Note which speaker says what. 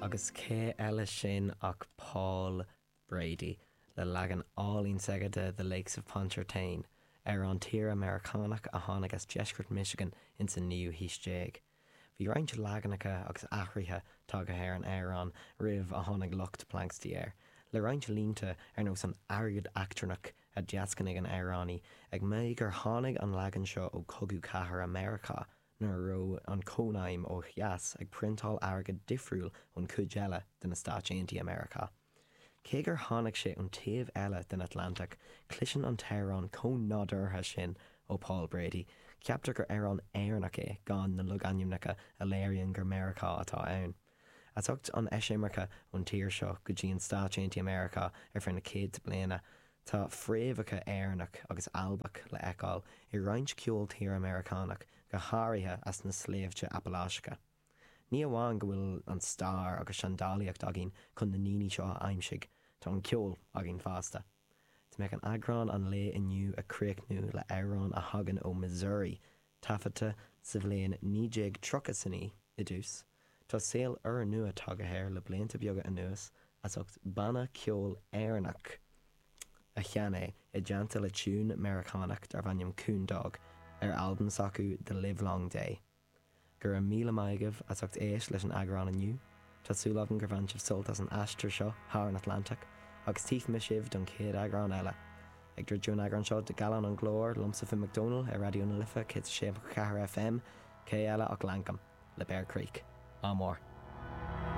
Speaker 1: Agus cé eile sin ach Paul Brady, le leagan álainn s'aige de The Lakes of Pontchartrain, amhrán tíre Meiriceánach a tháinig as deisceart Michigan ins an naoú haois déag. Bhí roinnt leaganacha agus athruithe tagtha ar an amhrán roimh a tháinig lucht Planxty air, le roinnt línte ar nós an airgead eachtrannach a dheascnaigh an amhránaí, ag maíomh gur tháinig an leagan seo ó Chogadh Cathartha Meiriceá nuair a raibh an Cónaidhm ó dheas ag priontáil airgead difriúil ón chuid eile de na Stáit Aontaithe Meiriceá. Cé gur tháinig sé ón taobh eile den Atlantach, cloiseann an t-amhrán chomh nádúrtha sin ó Paul Brady, ceaptar gur amhrán Éireannach é gan na logainmneacha a léiríonn gur Meiriceá atá ann. As ucht an eisimirce ón tír seo go dtí an Stáit Aontaithe Meiriceá ar feadh na céadta bliana, tá fréamhacha Éireannach agus Albach le fheiceáil i roinnt ceol tíre Meiriceánach, go háirithe as na sléibhte Apaláiseacha. Ní amháin go bhfuil an stair agus seandálaíocht againn chun na ndaoine seo a aimsigh, tá an ceol againn fosta. Tá mé chun eagrán an lae inniu a chríochnú le amhrán a thagann ó Missouri, taifeadta sa bhliain 1939 i dtús. Tá saol úrnua tagtha air le blianta beaga anuas as ucht banna ceoil Éireannach a sheinn é i dteannta le tiún Meiriceánach darbh ainm Coon Dog ar albam s'acu The Livelong Day. Go raibh míle maith agaibh as ucht éist leis an eagrán inniu. Tá súil agam gur bhain sibh sult as an aistear seo thar an Atlantach, agus tífidh mé sibh don chéad eagrán eile. Ag druidim an eagrán seo de Gallán an Ghlóir, liomsa Finn Mac Dónaill ar Raidió na Life 106.4 FM, cé eile ach Lankum, le Bear Creek. Ádh mór.